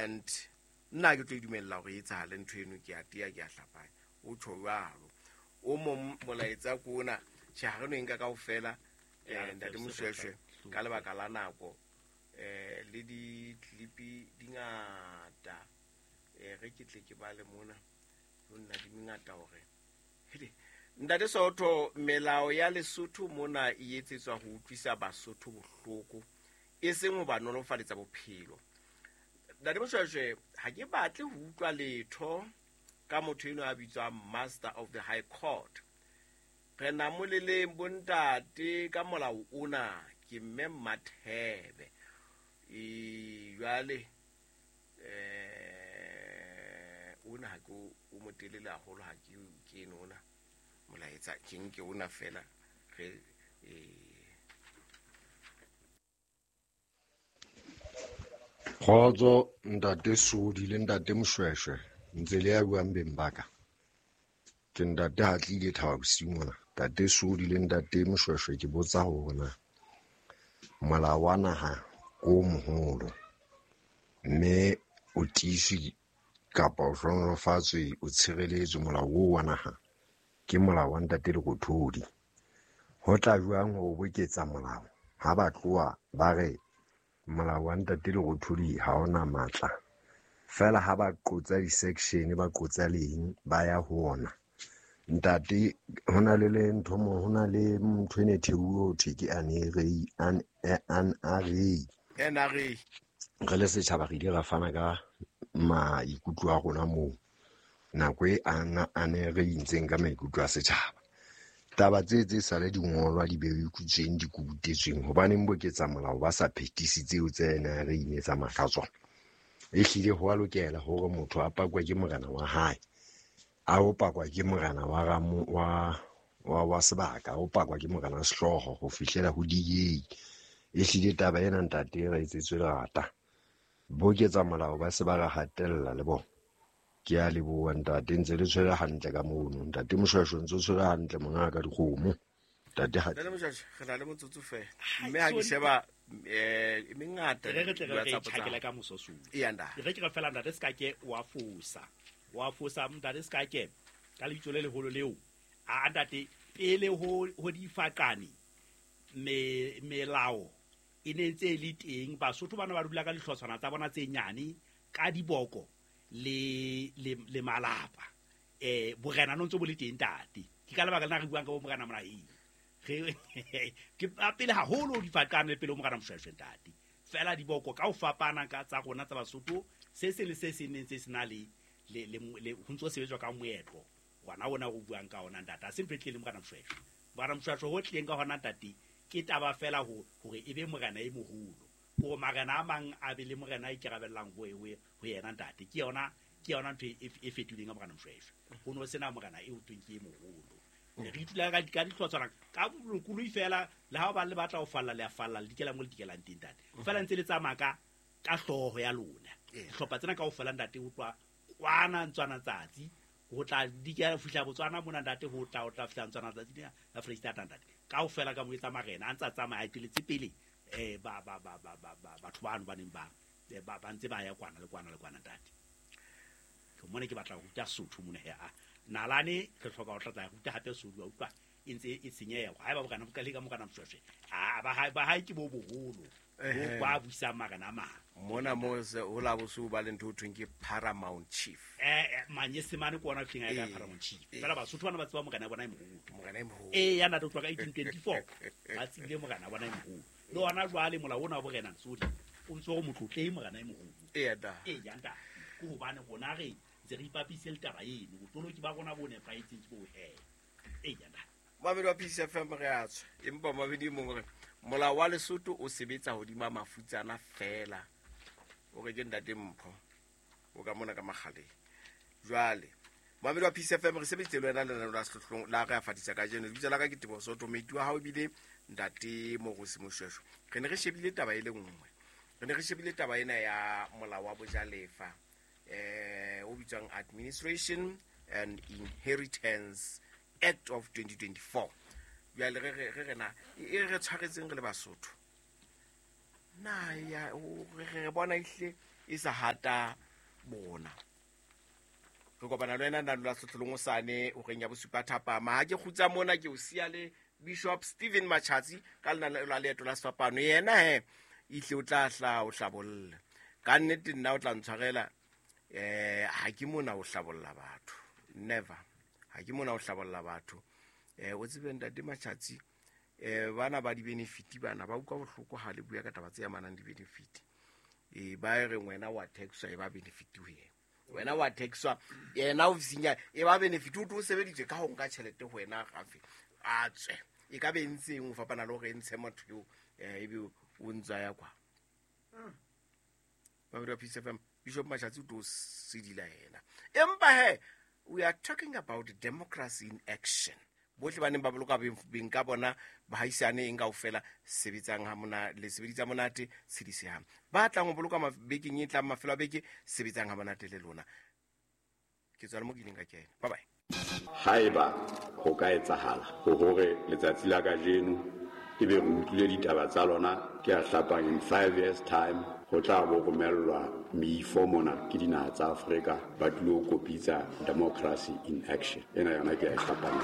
And nna ke tlo e dumella hore e etsahale ntho eno, ke a tea, ke a hlapanya. O tjho jwalo. O mong molaetsa ke ona, tjhe, ha re no e nka kaofela, Ntate Moshweshwe, ka lebaka la nako, le di-clip di ngata. Re ke tle ke bale mona, ho nna di mengata hore. Hele, Ntate Sootho, melao ya Lesotho mona e etsetswa ho utlwisa Basotho bohloko, e seng ho ba nolofaletsa bophelo. Ntate Moshweshwe, ha ke batle ho utlwa letho ka motho eno a bitswang Master of the High Court. Re namoleleng bontate ka molao ona, ke mme Mmathebe. Jwale, ona ha ke o motelele haholo, ha ke kene ona molaetsa, ke nke ona fela re, Kgotso ntate Sodi le ntate Moshweshwe, ntse le ya buang beng ba ka. Ke ntate ha tlile Thaba bosiu mona. Ntate Sodi le ntate Moshweshwe, ke botsa hore na molao wa naha ke o moholo mme o tiiswe kapa o hlohonolofatswe, o tshireletswe molao oo wa naha ke molao wa ntate Lerothodi. Ho tla jwang ho boketsa molao ha ba tloha ba re molao wa ntate Lerothodi ha ona matla? Feela ha ba qotsa di-section, ba qotsa leng, ba ya ho ona. Ntate, ho na le le ntho mo, ho na le ntho e ne thehuwe ho thwe ke NRA. NRA. Re le setjhaba re ile ra fana ka maikutlo a rona moo nako e NRA ntseng ka maikutlo a setjhaba. Taba tse tse sale di ngolwa di beikutsweng di kubutetsweng, hobaneng boketsa molao ba sa phethisi tseo tse NRA ne tsamaya ka tsona. Ehlile ho a lokela hore motho a pakwe ke morena wa hae, a o pakwa ke morena wa ramo, wa, wa, wa sebaka, o pakwa ke morena wa sehlooho ho fihlela ho DA. Ehlile taba ena ntate re etsetswe lerata. Boketsa molao ba se ba re hatella le bona. Ke a leboha ntate, ntse le tshwere hantle ka mono. Ntate Moshweshwe ntse o tshwere hantle mongaka dikgomo. Ntate ha Ntate Moshweshwe, re na le motsotso feela. Mme ha ke sheba, e mengata Re re tle re di re WhatsApp tsa tjhakele ka moso so. Eya, ntate. Re ke re fela ntate se ka ke wa fosa. Wa fosa ntate se ka ke ka lebitso le leholo leo. A ntate pele ho difaqane melao e ne ntse e le teng. Basotho bana ba dula ka dihlotshwana tsa bona tse nyane ka diboko le malapa. Borena no ntse bo le teng ntate. Ke ka lebaka lena re buang ka bo morena Monaheng. Re ke pele haholo difaqane le pele ho morena Moshweshwe ntate. Fela diboko ka ho fapana ka tsa rona tsa Basotho, se seng le se seng ne ntse se na le, le, le, le, ho ntso sebetswa ka moetlo. Ngwana ona o buang ka ona ntate, ha se ntho e tlileng le morena Moshweshwe. Morena Moshweshwe ho tlileng ka hona ntate, ke taba fela hore e be morena e moholo. Hore marena a mang a be le morena a ikarabellang ho yena ntate. Ke yona ntho e fetohileng ka morena Moshweshwe. Ho no sena morena e ho thweng ke e moholo. Re itula ka dihlotshwana, ka bolokolohi fela, le ha ba le batla ho falla, le a falla, le dikela mo le dikelang teng ntate. Fela ntse le tsamaya ka hlooho ya lona. Dihlopha tsena kaofela ntate ho tloha kwana Ntswana Tsatsi, ho tla dikela fihla Botswana mona ntate, ho tla fihla Ntswana Tsatsi ya Freistata ntate. Kaofela ka mo etsa marena, a ntsa tsamaya, a eteletse pele, batho bano ba neng ba ntse ba ya kwana le kwana le kwana ntate. Ke mona ke batla ho ruta Sotho mona he, a nalane re hloka ho tlatla ruta hape Sotho, wa utlwa e ntse e senyeha. Haeba bokana bo ka le ka mokana Moshweshwe, a, ba hae, ba hae ke bo boholo, bo ba busang marena a mang. Mona mo se ho la boso ba le ntho ho thweng ke Paramount Chief. Manyesemane ke ona tleng a ka Paramount Chief. Fela Basotho bana ba tseba morena bona e moholo. Morena e moholo. Ya ntate o tloha ka 1824. Ba tsebile morena bona e moholo. Le hona jwale molao ona wa borena Sodi o ntse o motlotlei morena e moholo. Eya, da. Ya ntate. Ke hobane rona re ntse re ipapise le taba eno. Botoloki ba rona bo nepahetseng ke bo he. Ya ntate. Mamedi wa Peace FM re a tswa. Empa mamedi e mong re molao wa Lesotho o sebetsa hodima mafutsana fela. O re ke ntate Mpho. O ka mona ka makgaleng. Jwale mamedi wa Peace FM re sebeditse le wena lenaneo la sehlohlolong la re a fatisa kajeno. Lebitso la ka ke Teboho Soto, moeti wa hao ebile ntate Morusi Moshweshwe. Re ne re shebile taba e le nngwe. Re ne re shebile taba ena ya molao wa bojalefa, o bitswang Administration and Inheritance Act of 2024. Jwale re re na, e re tshwaretseng re le Basotho. Na ya, o, re, re bona ehlile E sa hata bona. Re kopana le wena nna lula setlholong o sane o reng ya bosupa thapama. Ha ke kgutsa mona ke o siya le Bishop Stephen Machatsi ka lena la leeto la sefapano. Yena he ihle o tla hla o hlabolle. Ka nnete nna o tla ntshwarela ha ke mona o hlabolla batho. Never. Ha ke mona o hlabolla batho. O tsebe ntate Machatsi bana ba di-benefit bana ba utlwa bohloko ha le bua ka taba tse amanang di-benefit. Ba re wena wa taxwa e ba benefit ho yena. Wena wa taxwa yena ofising ya e ba benefit o tlo sebeditswe ka ho nka tjhelete ho wena gafe a tswe. E ka be ntse eng ho fapana le hore e ntshe motho eo ebe o ntsa ya kwa. Ba Peace FM Bishop Machatsi o tlo sedila yena. Empa he we are talking about democracy in action. Bohle ba neng ba boloka beng ka bona bahaisane eng kaofela sebetsang ha mona le sebeditsa monate tshedisehang. Ba tlang ho boloka bekeng e tlang mafelo a beke sebetsang ha monate le lona. Ke tswa le mo ke ileng ka kena. Bye bye. Haeba ho ka etsahala hore letsatsi la kajeno ebe re utlwile ditaba tsa lona ke a hlapang in 5 years time ho tla bo romellwa meifo mona ke dinaha tsa Afrika ba tlilo kopitsa democracy in action. Ena yona ke a e hlapang.